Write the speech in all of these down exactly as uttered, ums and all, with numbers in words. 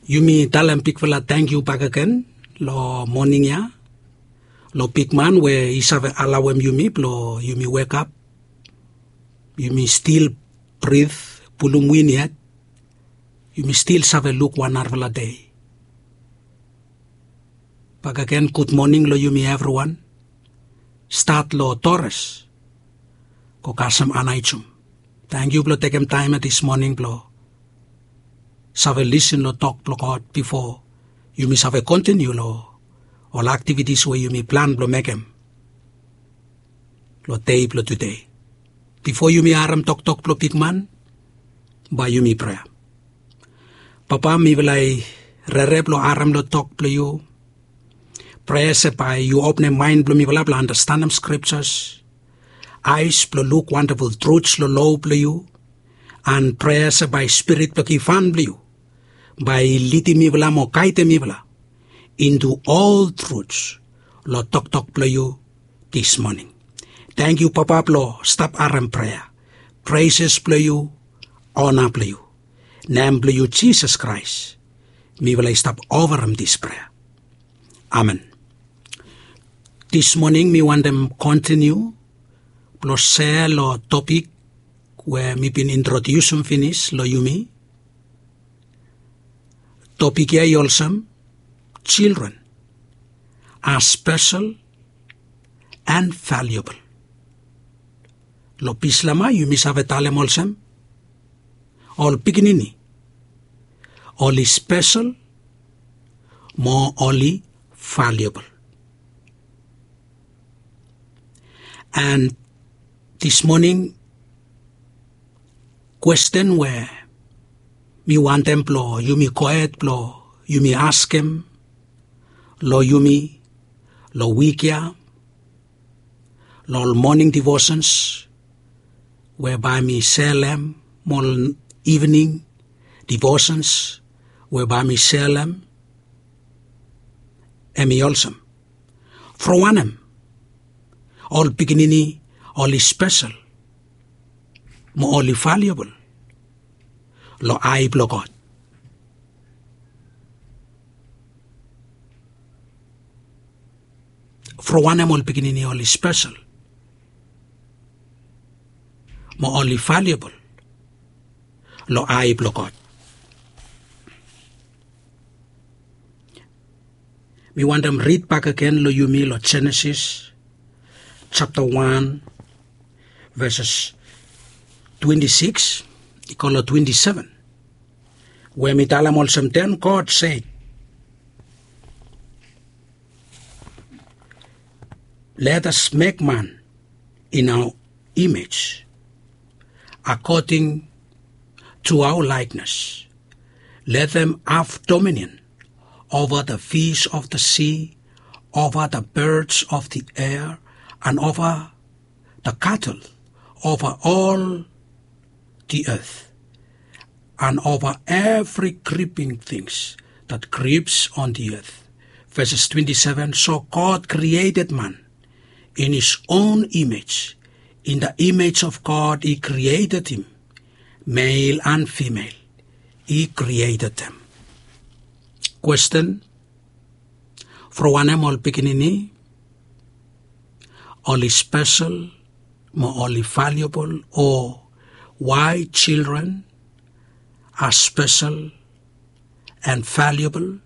Yumi talem bigfala tangkiu bakegen long moning ya long bigman we i save alaoem yumi blong yumi wekap, yumi stil brit, pulum win yet, yumi stil save luk wan narafala dei. Bakegen gudmoning long yumi evriwan. Stat long Torres go kasem Anaijum. Tangkiu blong tekem taem ya dis moning blong save lisin long tok blong God bifo yumi save kontiniu long ol aktivitis we yumi plan blong mekem long dei blong tude. Bifo yumi harem toktok blong bigman, bae yumi prea. Papa, mifala i rere blong harem long tok blong yu. Prea se bae yu openem maen blong mifala blong andastanem skriptas, aes blong luk wandaful truts long lo blong yu. An prea se bae Spirit blong givhan blong yu bae i lidim mifala mo gaedem mifala intu ol truts long toktok blong yu dis moning. Tangkiu Papa blong stap harem prea, preses blong yu, ona blong yu. Nem blong yu Jisas Kraes mifala i stap ofarem dis prea. Amen. Dis moning mi wantem kontiniu blong sea long topik we mi bin introdiusim finis long yumi. Topik ya i olsem, children are special and valuable. Long Bislama yumi save talem olsem, ol pikinini oli spesel mo oli valiabol. And this morning, kwesten we mi wantem blong yumi gohed blong yumi askem long yumi long wik ya, long ol moning divosens we bae mi selem, mo ol ivening divosens we bae mi selem, hemi olsem, from wanem ol pikinini oli spesel mo oli valiabol long ae blong God? From wanem ol pikinini oli spesel mo oli valiabol long ae blong God? Mi wantem rid bakegen long yumi long Jenesis japta wan, veses twenti sikis i go long twenti seven, we mi talem olsem, then God said, let us make man in our image, according to our likeness. Let them have dominion over the fish of the sea, over the birds of the air, and over the cattle, over all the earth, and over every creeping things that creeps on the earth. Verses twenty-seven, so God created man in his own image. In the image of God, he created him. Male and female, he created them. Kwesten, from wanem ol pikinini oli spesel mo oli valiabol, o why children are special and valuable?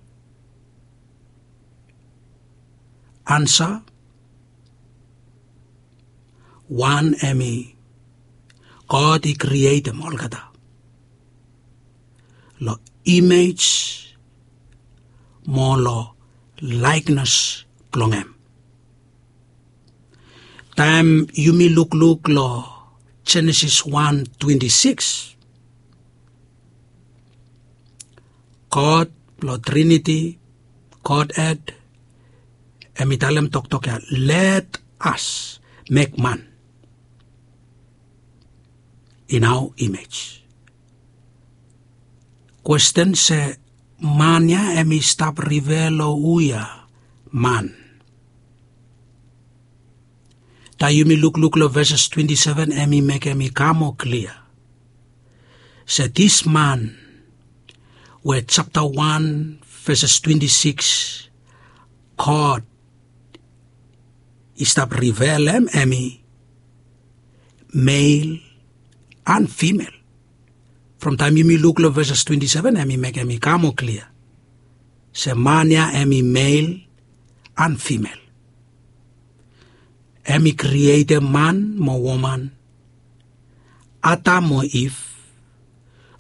Ansa, wan hemi, God i krietem olgeta long imej mo long laeknes blong hem. Taem yumi lukluk long Jenesis wan twenti sikis, God blong Triniti, Godhed, hemi talem toktok ya, let us make man in our image. Kwesten se, man ya hemi stap rifea long hu ya man? Taem yumi lukluk long veses twenti seven, hemi mekem i kam moa klia se this man we japta wan veses twenti sikis, God i stap rivelem hemi mel an fimel. From taem yumi luk long veses twenti seven, hemi mekem i kam moa klia se man ya hemi mel an fimel. Hemi krietem man mo woman, Adam mo Iv,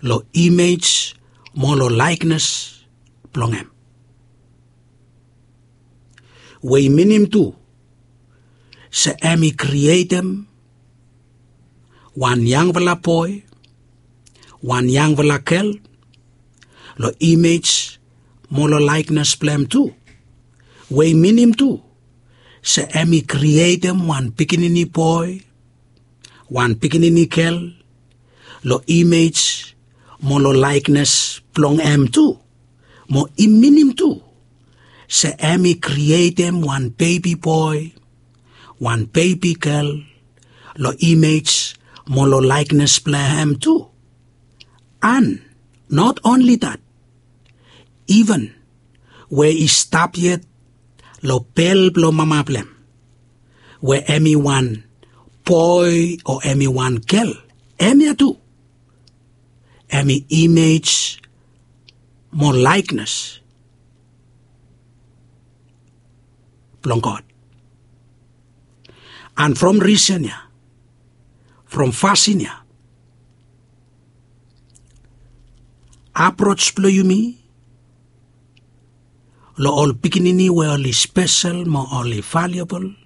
long imej mo long laeknes blong hem. We i minim tu se hemi krietem wan yangfala boe, wan yangfala gel, long imej mo long laeknes blong hem tu. We i minim tu se hemi krietem wan pikinini boe, wan pikinini gel, long imej mo long laeknes blong hem tu. Mo i minim tu se hemi krietem wan bebi boe, wan bebi gel, long imej mo long laeknes blong hem tu. An not only that, iven we i stap yet long bel blong mama blong hem, we hemi wan boe o hemi wan gel, hemia tu hemi imej mo laeknes blong God. An from risen ya, from fasin ya, aproj blong yumi long ol pikinini we oli spesel mo oli valiabol,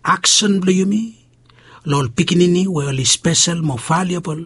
aksen blong yumi long ol pikinini we oli spesel mo valiabol,